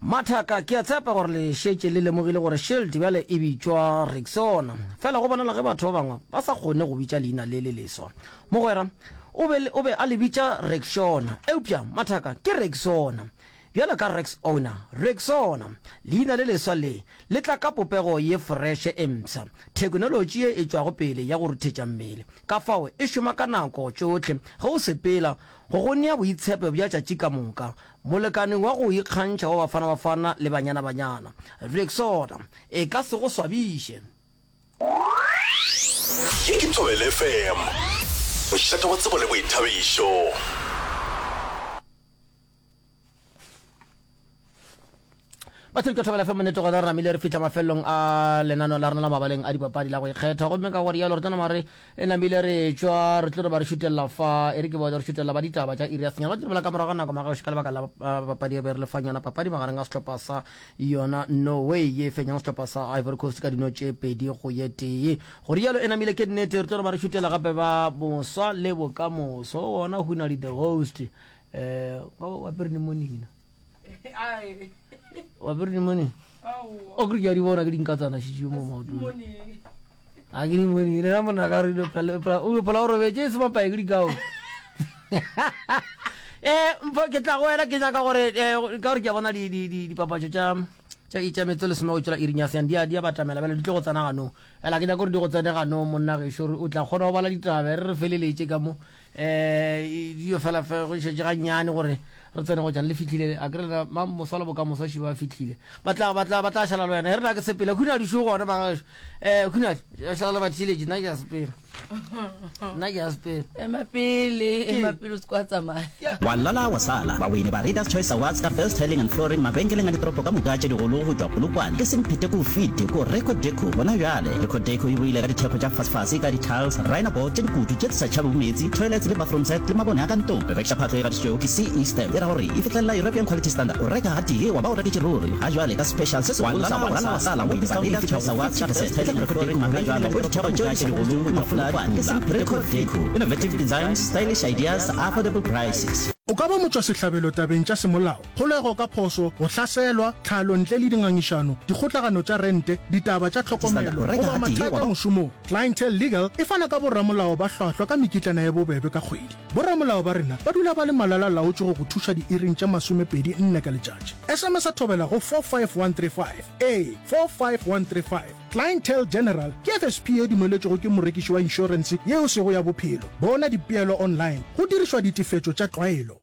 Mathaka, ke a tshepa gore le šetše le lemogile gore Shield bjale e bitšwa Rexona. Fela go bonala ge batho ba bangwe ba sa kgone go bitša leina le le leswa. Mogwera o be, o be a le bitša Rexona. Eupša, mathaka, ke Rexona. Bjalo ka Rex Owner, Rexona, leina le leswa le, le tla ka popego ye foreše e mpsha, theknolotši ye e tšwago pele ya go ruthetša mmele. Ka fao e šoma ka nako tšohle ge o sepela, go go nea boitshepo bja tšatši ka moka. Molekane wa go ikgantšha wa Bafana Bafana le Banyana Banyana, Rexona, e ka se go swabiše. Ye ke Thobela FM, mošate wa tsebo le boithabišo. Bathedi ka Thobela FM nnete gona re namile re fihla mafelelong a lenaneo la rena la mabaleng a dipapadi la go ikgetha gomme ka gore yalo re tlo nama re e namile re tšwa re tlo re ba re šutelela fa e re ke bone re šutelela ba ditaba tša iri ya senyane ba tlo bela ka morago ga nako magagoši ka lebaka la papadi e be re le fang yona papadi magareng a sehlopha sa yona Norway ye e fenyang sehlopha sa Ivory Coast ka dino tše pedi go ye tee go rialo e namile ke nnete re tlo re ba re šutela gape ba moswa le bokamoso wona Hunadi the host um wa apere pneumonia wa apere pneumonia o kere ke a di bona ke dinkatsana šitše mo maotong a ke pneumonia lena monna ka re o phela o robetse e se mapae ke dikao um mpho ke tla go wena ke nyaka gore eh, ka gore ke a bona dipapatso tša tša tša metso lesome go tšwela iring ya senyane di a di a batamela bjale di tlo go tsena ganong fela ke nyaka gore di go tsene ganong monna gešo gore o tla kgona go bala ditaba re re feleletše ka mo um dio fela fe go šetše gannyane gore re tsene go tšana le fihlile a kere lena ma moswa le bokamoso še ba fihlile ba tla ba tla ba tla šala le wena e re na ke sepela khunadi šo gona ba um khunadi šala le batheeletši nna ke a sepela nna ke a sepela ema pele ema pele o se kwa tsamaya Wa lala wa sala. Bawini ba Readers Choice Awards ka First Tiling and Flooring mabenkeleng a ditoropo ka moka tše digolo go tšwa Polokwane ke semphete ko fete ko Record Deco gona bjale. Record Deco e boile ka ditheko tša fasefase ka di-tiles, rhino board tše dikutu tše di sa tšhabego meetse, toilets le bathroom set le mabone a ka ntlong. Re rekiša phahlo e gatišitšwego ke CE stamp e ra gore e fihlelela European Quality Standard. O reka gatee wa ba o reketše ruri. Ga jwale ka special se segolo sa wa lala wa sala mo discount e fihla go 50%. Etla Record Deco gona bjale go ditheko tšeo di sa digolo ke mafula a dipula. Record Deco, innovative designs, stylish ideas, affordable prices. O ka ba motšwasehlabelo tabeng tša semolao, kgolego ka phošo, go hlaselwa, tlhalo ntle le dingangišano, dikgotlagano tša rente, ditaba tša tlhokomelo, goba mathata mošomong. Clientele Legal e fana ka boramolao ba hlwahlwa ka mekitlana ye bobebe ka kgwedi. Boramolao ba rena ba dula ba le malala-laotšwe go go thuša diiring tše masomepedi nne ka letšatši. SMS-a thobela go 45135. Ee, 45135. Clientele General ke FSP ye dumeletšwego ke morekiši wa inšorense ye e sego ya bophelo. Bona dipeelo online go dirišwa ditefetšo tša tlwaelo.